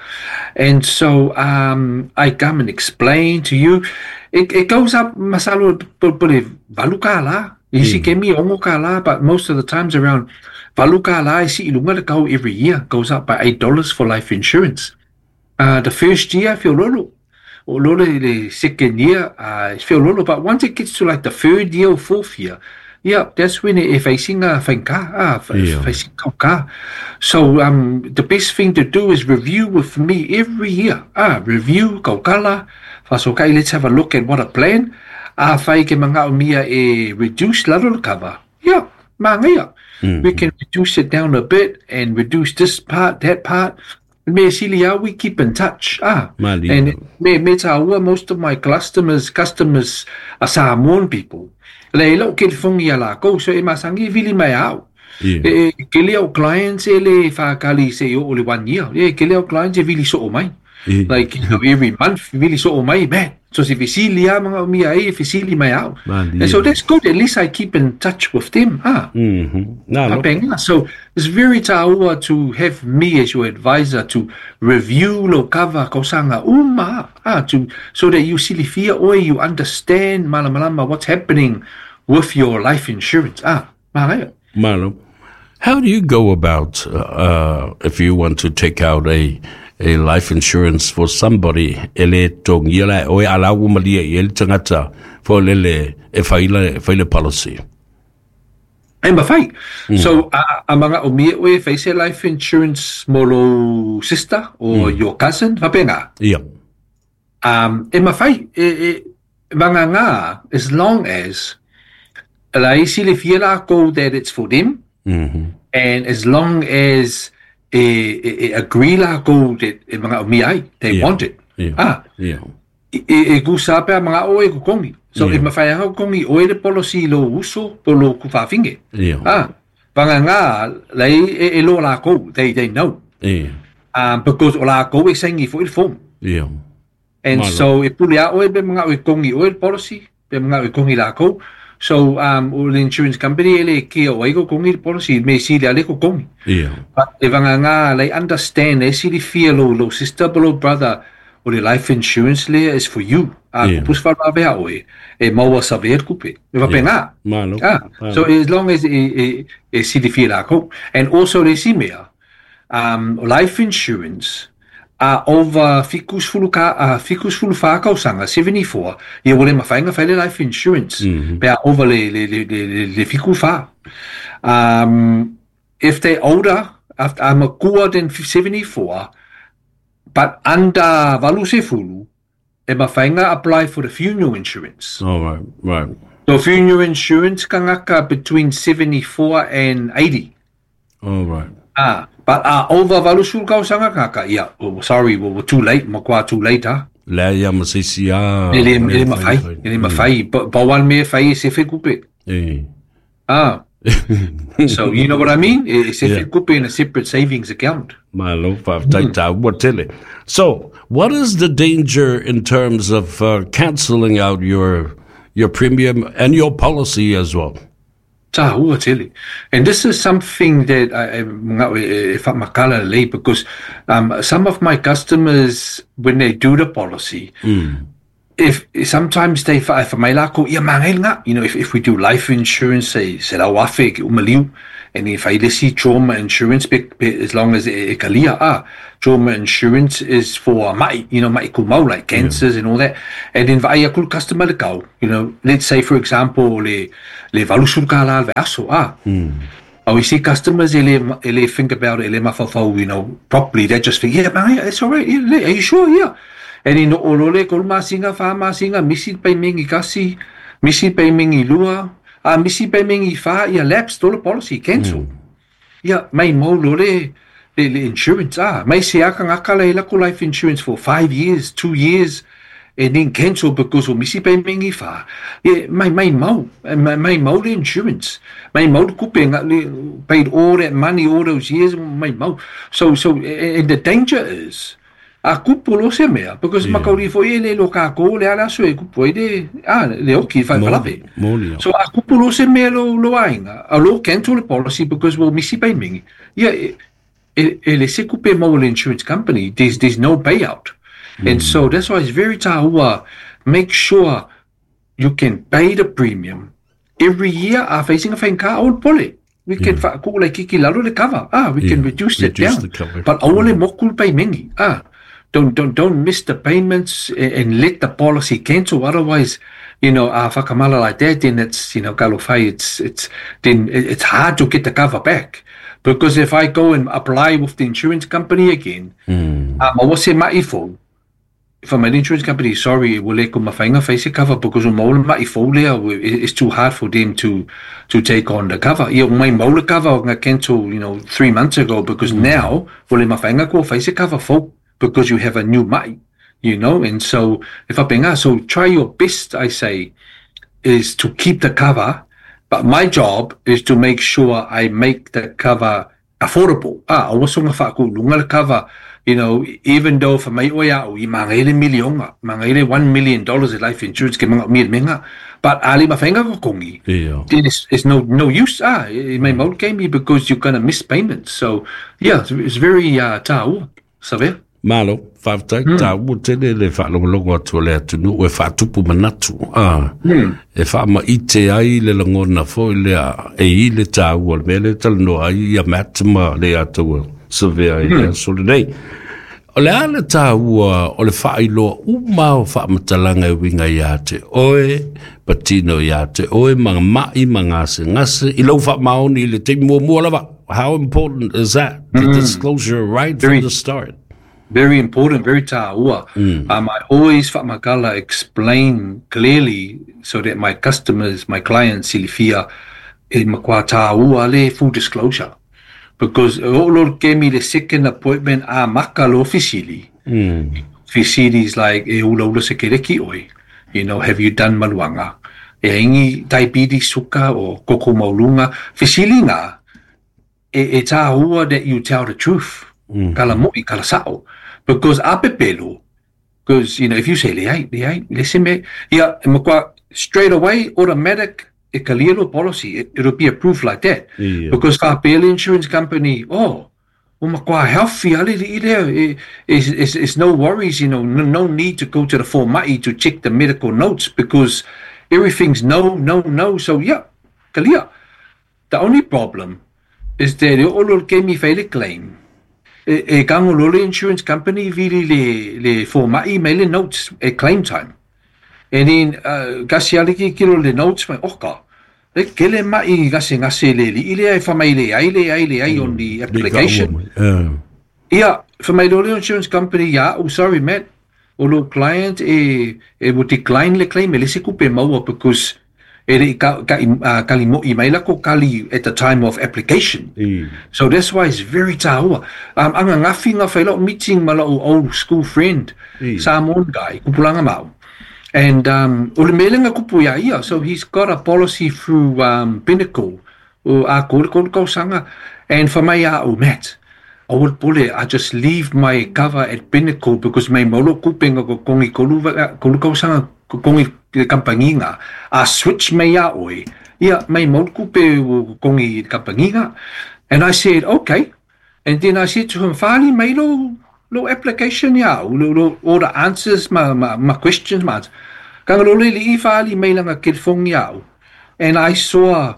Speaker 3: And so I come and explain to you. It goes up masalo pole valu ka la. Isi kemi ongo ka la, but most of the times around valu ka la isi ilunga le kau every year goes up by $8 for life insurance. The first year feel lolo. O lolo le second year feel lolo, but once it gets to like the third year or fourth year, Yeah, that's when e faisinga fainka, ah, yeah. Kauka. So the best thing to do is review with me every year. Ah, review kaukala. Okay, let's have a look at what a plan. Ah, fai ke manga mia e reduce lalo le cover. Yeah, manga. We can reduce it down a bit and reduce this part, that part. Me silia, we keep in touch. Ah, and me me taua, most of my customers are Samoan people. Le lo ke fongi ala ko so e masangi vili mai au. E ke leo clients e le whakali se o le 1 year. E ke leo clients e vili so o mai. Like, you know, every month vili so o mai, man. So se fisili a mga mia e fisili mai au. And so that's good. At least I keep in touch with them. Ah.
Speaker 1: Mm-hmm.
Speaker 3: No. So it's very taua to have me as your advisor to review lo cover kausanga uma, ah, to so that you silifia oi, you understand malamalama what's happening with your life insurance. Ah, malo.
Speaker 1: Malo. How do you go about if you want to take out a life insurance for somebody, ele tongia la oe ala umalia i ele tangata fo lele e faile policy?
Speaker 3: E mawhai. So, a mga o mia oe faise life insurance mo lo sister or your cousin, whapenga?
Speaker 1: Yeah.
Speaker 3: E mawhai, e mga ngā, as long as la isi le fia la ko that it's for them, and as long as e agree la ko that e mga o mia ai, they want it.
Speaker 1: Yeah.
Speaker 3: Ah.
Speaker 1: Yeah.
Speaker 3: E kusa pe mga oe ko kongi. So e mawhai hau kongi oe le policy lo uso po lo kuwhawhinge.
Speaker 1: Yeah.
Speaker 3: Ah. Wanga ngā, lei e lo la ko, they know.
Speaker 1: Yeah.
Speaker 3: Because o la ko e sengi fo il form.
Speaker 1: Yeah.
Speaker 3: And
Speaker 1: Malo.
Speaker 3: So e pule a oe pe mga oe kongi oe le policy, pe mga oe kongi la ko. So o le insurance company ele kia oe ko kongi le policy, me si le ale ko kongi.
Speaker 1: Yeah.
Speaker 3: But e wanga ngā, lei understand, e si le fia lo sister, lo brother, o le life insurance le is for you. Ah,
Speaker 1: Yeah.
Speaker 3: kupus wharawea oe, e maua saver kupe. E wapenga.
Speaker 1: Malo.
Speaker 3: Ah,
Speaker 1: Malo.
Speaker 3: so as long as e silifia la ko. And also le simea, life insurance, over fikus fulu whakausanga, 74, ia wale mawhainga whaile life insurance. Pea over le fiku wha. If they older, after I'm a kua than 74, but under valu se fulu, e mawhainga apply for the funeral insurance.
Speaker 1: Oh, right, right.
Speaker 3: So funeral insurance kangaka between 74 and 80.
Speaker 1: Oh, right.
Speaker 3: Ah, but over valu sulu kausanga kaka, yeah, oh, sorry, we're too late, makwa too late, ha?
Speaker 1: Lea ia masisi a...
Speaker 3: Ele mawhai, ele mawhai, bawan me whai e sefe kupe.
Speaker 1: Eh.
Speaker 3: Ah. So you know what I mean? E sefe kupe in a separate savings account.
Speaker 1: Malo, whaftaita, So, what is the danger in terms of cancelling out your premium and your policy as well?
Speaker 3: And this is something that I because some of my customers, when they do the policy, if sometimes they you know, if we do life insurance, say and if I see trauma insurance, as long as it trauma insurance is for mai, you know, mai kumau, like cancers and all that. And then vai akul customer go, you know, let's say for example le valusul kala vaso ah. We see customers ele think about it, ele mafafau, you know, properly. They just think, yeah, man, it's all right. Yeah, are you sure? Yeah. And in olole kol masinga fa masinga misi pay mingi kasi, misi pay mingi lua, misi pay mingi fa, ia lapse tolo policy cancel. Yeah, mai mo lole le insurance ah, mai se aka ngakala ila ko life insurance for 5 years, 2 years, and then cancel because o misi pay mingi fa. Yeah, mai mo le insurance. Mai mo kupe paid all that money all those years, mai mo. So and the danger is a kupu lo se mea, because makauri fo e le lo ka ko le ala so e kupu e le, le oki whai whalawe. So a kupu lo se mea lo ainga, a lo cancel the policy because we'll misi pay mingi. Yeah, e le se kupe mo le insurance company, there's no payout. And so that's why it's very tāua, make sure you can pay the premium every year a facing a whainga o pole. We can kiki lalo le cover. Ah, we can reduce it down. But aole mokul pay mingi. Ah. Don't miss the payments and let the policy cancel. Otherwise, you know, a whakamala like that, then it's, you know, kalofai, then it's hard to get the cover back. Because if I go and apply with the insurance company again, ma wase ma'i fou, if I'm an insurance company, sorry, will le ko mawhainga face cover because o maula ma'i fou lea, it's too hard for them to take on the cover. Ia, mai maula cover nga cancel, you know, 3 months ago because now, ua le mafai ko face cover fou because you have a new ma'i, you know, and so if I benga, so try your best, I say, is to keep the cover, but my job is to make sure I make the cover affordable. Ah, aua soga faakuuluga le cover, you know, even though fa mai oe au i magaile milionga, magaile $1 million in life insurance ke manga mi menga, but ali mafenga ko kongi. Then it's no use. Ah, it may mau me because you're gonna miss payments. So yeah, it's very tāua. Sabe?
Speaker 1: Malo, faafetai, tāua tele le faalogologo atu o le atunuu e faatupu manatu a e faamaite ai le lagona foi lea e i le tāua le mea le talanoa ai ia Matt ma le atou surveyor i le aso lenei. O le a le tāua o le faailoa uma o faamatalaga e uiga iā te oe, patino iā te oe, ma ma'i ma gasegase, i lau faamaoni i le taimi muamua lava. How important is that, the disclosure right from the start?
Speaker 3: Very important, very tāua. I always faamakala explain clearly so that my customers, my clients, silifia, e makua tāua le full disclosure. Because o lo ke mi the second appointment a maka lo fisili. Fisili is like, e ula ula se kereki oi. You know, have you done maluanga? E ingi diabetes suka o koko maulunga. Fisili ngā, e tāua that you tell the truth. Kala moi, kala sao. Because a pepelo, because, you know, if you say, le ai, le ai, le se me, ia, e makua, straight away, automatic, e kalia lo policy, it'll be approved like that. Because ka pele insurance company, oh, o makua healthy, ale li lea, it's no worries, you know, no need to go to the fomai to check the medical notes because everything's no, no, no. So, yeah, kalia. The only problem is that o lo ke mi faile claim. E kango lo le insurance company vili le fomai me le notes at claim time. And then kasi ale ki kilo le notes mai oka. Le kele mai gase gase le li ile ai fa mai le ai le ai le ai on the application. Ia, for my le insurance company, yeah, oh sorry mate, o lo client e will decline le claim e le se kupe maua because e le ka, kali mo i mai la ko kali at the time of application. So that's why it's very tāua. Anga ngafi nga whai lau meeting ma lau old school friend, Samoan guy, kupulanga mau. And o le melenga kupu ia ia, so he's got a policy through Pinnacle, o a kore kore kausanga. And for mai a o Matt, I would pule, I just leave my cover at Pinnacle because mai molo kupenga ko kongi kolu, kolu kausanga ko kongi le kampanginga. A switch mai a oi. Ia, mai molo kupe o kongi kampanginga. And I said, okay. And then I said to him, Fali mai lo application ia, lo, all the answers, ma questions, ma. Kanga lo le i fali mai langa telephone ia. And I saw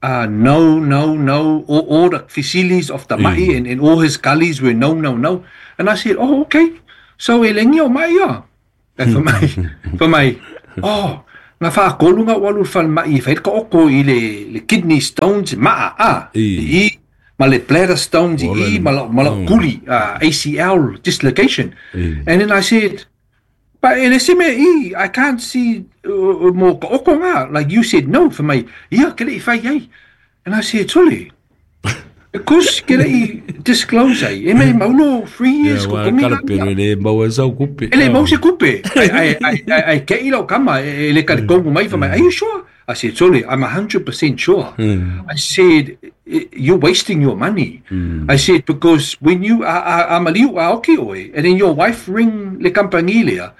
Speaker 3: no, no, no, all the facilities of the ma'i and all his gullies were no, no, no. And I said, oh, okay. So e lengi o mai ia. And for my, oh, nga whaakolu nga walu whal mai, whai ka oko i le kidney stones, maa, a, i, ma le bladder stones i, ma la kuli, ACL dislocation. And then I said, but e le se me i, I can't see mo ka oko ngā. Like you said no for my, ia, ke le i whai ai. And I said, Tole, because ke le i disclose ai, e mei maulo 3 years
Speaker 1: ko kongi kala pere le mau e sau kupe.
Speaker 3: E le mau se kupe. Ai, ke i lau kama, e le kare kongu mai fa mai, are you sure? I said, Tole, I'm 100% sure. I said, you're wasting your money. I said, because when you a maliu a oki oe, and then your wife ring le company lea,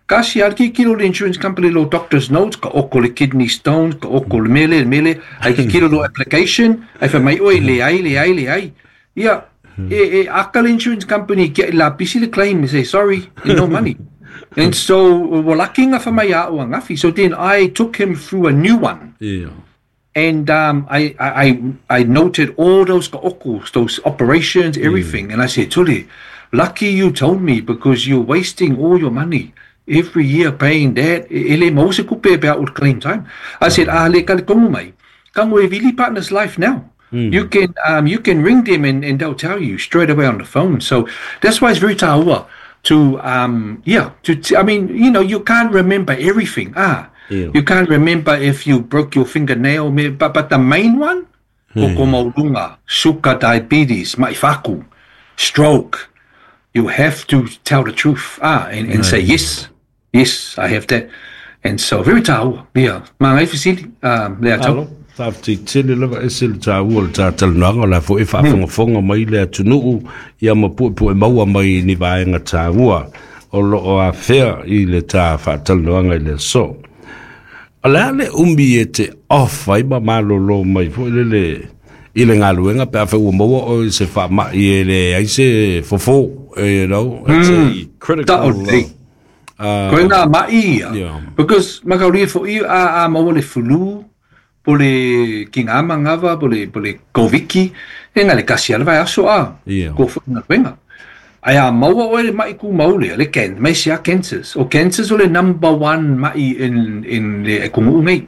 Speaker 3: kasi al ki kilo le insurance company lo doctor's notes, ka oko le kidney stones, ka oko le mele, mele, ai ki kilo lo application, ai fa mai oe, le ai, le ai, le ai. Ia, e aka le insurance company, ki la pisi le claim, say, sorry, no money. And so, well, nga fa mai a o ngafi. So then I took him through a new one. And I noted all those ka oko, those operations, everything. And I said, Tuli, Lucky you told me because you're wasting all your money every year paying that. E le maua se kupe pe a o claim time. I said, a le ka le kongu mai. Kango e vili Partners Life now. You can you can ring them and they'll tell you straight away on the phone. So that's why it's very taua to yeah to I mean, you know, you can't remember everything. Ah, you can't remember if you broke your fingernail, but the main one, koko maulunga, sugar, diabetes, maifaku, stroke. You have to tell the truth. Ah, and say yes, yes, I have that. And so very taua. Yeah, mangai fisili. Le atau.
Speaker 1: Faafetei lava e se le tāua le tātalanoaga o la foʻi faafogafoga mai le atunuu ia ma puepu'e maua mai ni vaega tāua o loo afea i le tā faatalanoaga i le aso. O le a le umi e te off ai ma malōlō mai foʻi lele i le galuega pe afai ua maua oe se faamaʻi e le ai se fofō, it's a critical
Speaker 3: Koe ngā mai ia. Because makauria foʻi a maua le flu, po le ki ngā mangawa, po le koviki, e ngā le kasi ala vai aso a, ko foʻi ngā wenga. Ai a maua oe le mai ku maule, le ken, mai sia cancers. O cancers o le number one mai in le e kungu nei.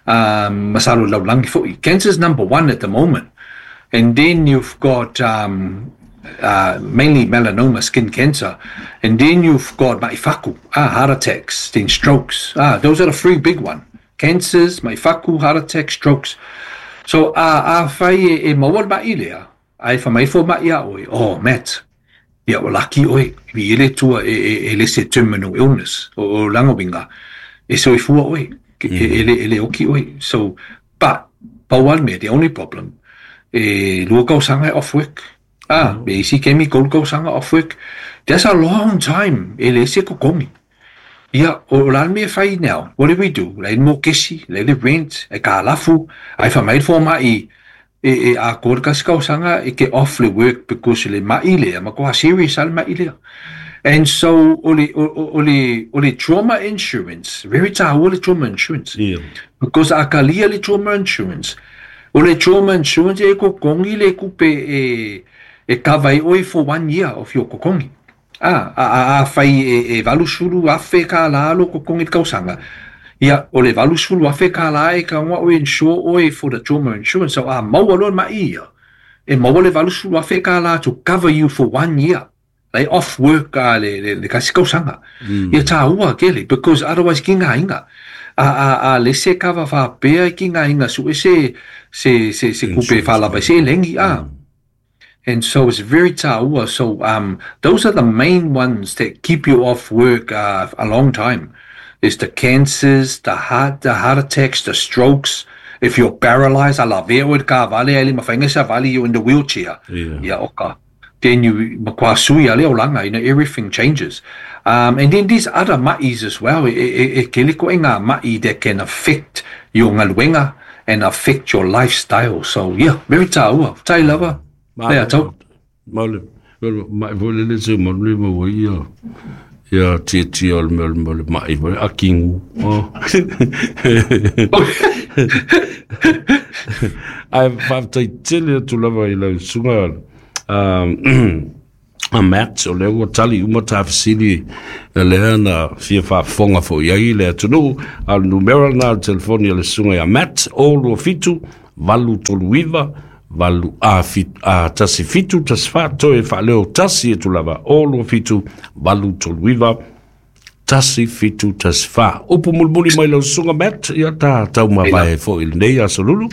Speaker 3: Masalo laulangi foʻi. Cancer's number one at the moment. And then you've got mainly melanoma, skin cancer. And then you've got maifaku, heart attacks, then strokes. Those are the three big one. Cancers, maifaku, heart attacks, strokes. So a whai e maua mai lea, ai wha mai fo mai a oe, oh, Matt, ia o laki oe, i ele tua e lese terminal illness, o langawinga, e so e fua oe, e le oki oe. So, but, paual me, the only problem, e lua kausanga off work. Me isi kemi kolu kausanga off work. That's a long time, e lese kokongi. Ia, o la me whai now, what do we do? Lei mo kesi, lei le rent, e ka lafu, ai wha mai fo mai, e a kore kasi kausanga, e ke off le work because le mai lea, ma koha serious al mai lea. And so, o le trauma insurance, very tāua le trauma insurance.
Speaker 1: Yeah.
Speaker 3: Because a ka lia le trauma insurance, o le trauma insurance e kokongi le kupe e kawai oi for 1 year of your kokongi. A whai e valusulu a whe ka la lo kokongi kausanga. Ia, o le valusulu a whe ka la e ka ngwa o insure oi for the trauma insurance. So a maua loa mai ia. E maua le valusulu a whe ka la to cover you for 1 year. Like off work le kasi kausanga. Ia tāua kele, because otherwise ki ngā inga. A lese kawa whapea ki ngā inga su e se kupe whalava se lengi. And so it's very tāua. So those are the main ones that keep you off work a long time. It's the cancers, the heart attacks, the strokes. If you're paralyzed, ala veo ka vale ali mawhainga sa vale, you're in the wheelchair. Yeah, oka. Then you makwasui ale olanga, you know, everything changes. And then there's other ma'is as well. E kele ko ngā ma'i that can affect your ngaluenga and affect your lifestyle. So yeah, very tāua. Tai lava. Lea tau.
Speaker 1: Maule, mai vole le se maule mo ia. Ia tia tia o le mea mai vole akingu. Ai whaftai tele atu lava i lau sunga a Matt o lea ua tali uma tāfisili lea na fia whaafonga fo iai le atunuu a le numera na le telefoni a le sunga ia Matt o lua fitu valu tolu iva valu a tasi fitu tasi wha toe whaaleo tasi e tulava o lua fitu valu tolu iva tasi fitu tasi wha. Upu mulmuli mai lau sunga Matt ia tā tau mavae fo i lenei a solulu.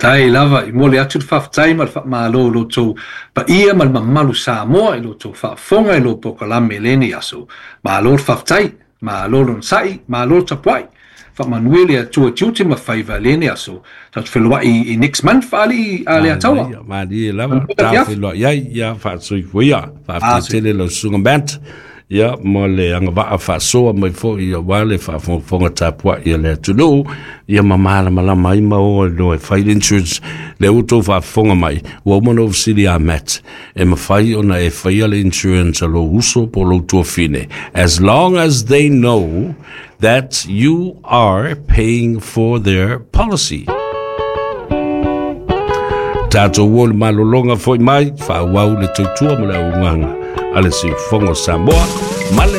Speaker 3: Tai lava, i mole atu le whawhtai ma le whaamalo lo tō pa ia ma le mamalu Samoa i lo tō whaafonga i lo pokalame leni aso. Malo le whawhtai, malo le nsai, malo le tapuai. Whaamanuele a tua tiute ma whaiva leni aso. Tātu whelua i next month ali a le ataua.
Speaker 1: Maari e lava, tā whelua iai, ia whaasui fuia, whaaftai tele lau sunga Matt. Ia, mo le anga waa whaasoa mai fo ia wale whaafonga tāpua ia le atunuu, ia mamala malama ai ma o no e whai insurance le uto whaafonga mai, ua umana ofisili a Matt, e mawhai ona e whaia le insurance a lo uso po lo tuafine. As long as they know that you are paying for their policy. Tātou o le malolonga foi mai, whaawau le tautua ma le aunganga. A le siufofoga o Samoa ma le